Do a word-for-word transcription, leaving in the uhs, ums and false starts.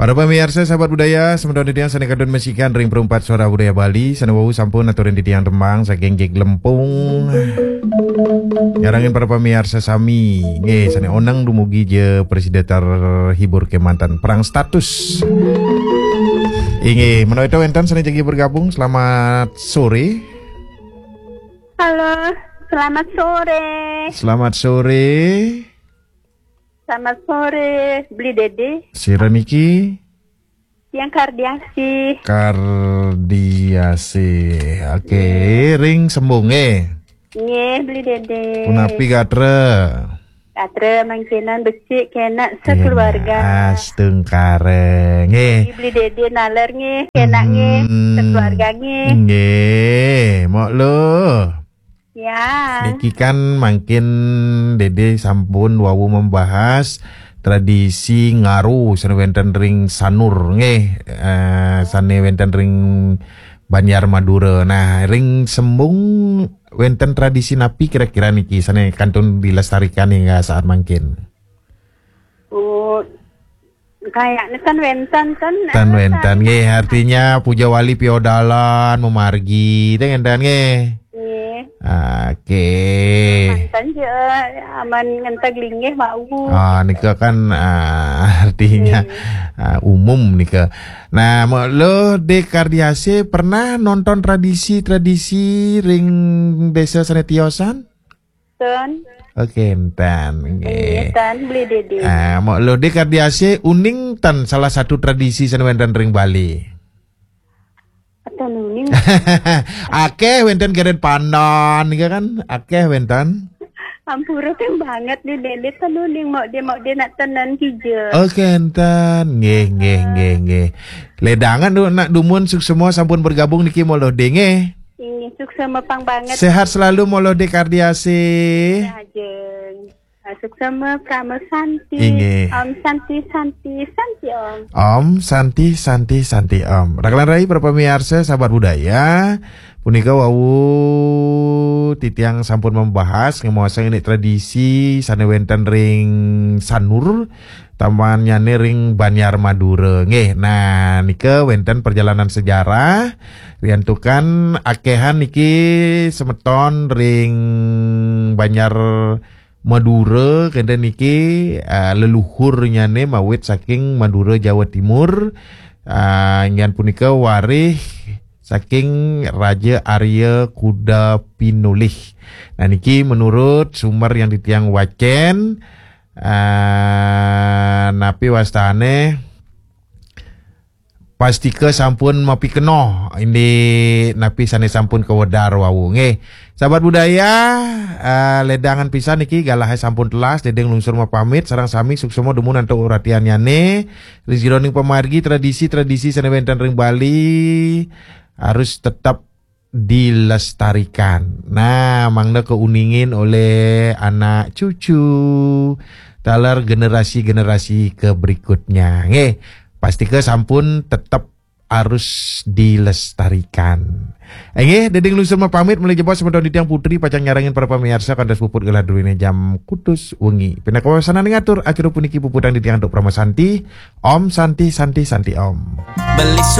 Para pamiarsa, sahabat budaya, semeton titiang sane kantun masikian ring Perumpat Suara Budaya Bali, sane wau sampun aturin titiang tembang saking Jeglempung. Nyarengin para pamiarsa sami, nggih, sane oneng dumugi ja prasida terhibur kemanten. Perang status. Inggih, menawi wenten sane jagi bergabung, selamat sore. Halo, selamat sore. Selamat sore. Selamat sore, Beli Dede. Sira niki? Tiang Kardiasi. Kardiasi. Oke, ring sembung, eh. Nggih, Beli Dede. Punapi gatra? Gatra mangkinan becik kenak sekeluarga. Astungkara, nggih. Beli Dede naler nggih, kenak nggih, hmm, sekeluarga nggih. Nggih, mok lo. Ya. Niki kan mangkin Dede sampun wau membahas tradisi ngaru sane wenten ring Sanur, nggih, eh, sane wenten ring Banjar Madura. Nah, ring sembung wenten tradisi napi kira-kira niki sane kantun dilestarikan hingga saat mangkin? Oh, kayaknya kan wenten kan. Tan wenten, nggih, artinya puja wali piodalan, memargi, teh ngenten nggih. Nggih. Oke. Mantan je, aman ngenteg linggih wau. Ah, nika kan, ah, artinya, ah, umum nika. Nah, mok lo De Kardiase pernah nonton tradisi-tradisi ring desa sane tiosan? Ten. Oke, enten. Nggih. Nggih, ten, Beli Dede. Ah, mok lo De Kardiase uning tan salah satu tradisi sane wenten ring Bali? Ten uning. Akeh wenten geret pandan, nika kan? Akeh wenten. Ampura kan banget nih, Dede, ten uning, mok dia, mok dia nak tenen kija. Oke, enten. Nggih, nggih, nggih, nggih. Ledangan du-, nak dumun suksma sampun bergabung niki, mok lo De, nggih. Inggih, suksma pang banget. Sehat selalu, mok lo De Kardiasi. Ajeng. Ah, suksma, Prama Santi. Inggih. Om Santi, Santi, Santi Om. Om Santi, Santi, Santi Om. Rakalan rai, para pamiarsa, sahabat budaya. Punika wau titiang sampun membahas ngemaosang ini tradisi sane wenten ring Sanur, tampannyane ring Banjar Madura. Nggih, nah, nika wenten perjalanan sejarah, riantukan akehan niki semeton ring Banjar Madura, kenten niki, ah, leluhurnyane mawit saking Madura Jawa Timur, ah, inggih punika warih saking Raja Arya Kuda Pinulih. Nah, niki menurut sumber yang titiang wacen, ah, napi wastane pastika sampun mapikenoh indik napi sane sampun kawedar wau. Nggih, sahabat budaya, eh, ledangan pisan niki galahe sampun telas, Dede nglungsur mapamit, sareng sami suksma dumun antuk uratiannyane. Ring jeroning pamargi tradisi-tradisi sane wenten ring Bali harus tetep dilestarikan. Nah, mangda keuningin oleh anak cucu, taler generasi-generasi ke berikutnya. Nggih, pastika sampun tetep harus dilestarikan. Inggih, Dede nglungsur mapamit, malih jebos semeton titiang putri pacang nyarengin para pamiarsa kantos puput gelah druene jam kutus wengi. Pinaka wasananing atur, acara puniki puputang titiang antuk Prama Santi. Om Santi, Santi, Santi Om. Beli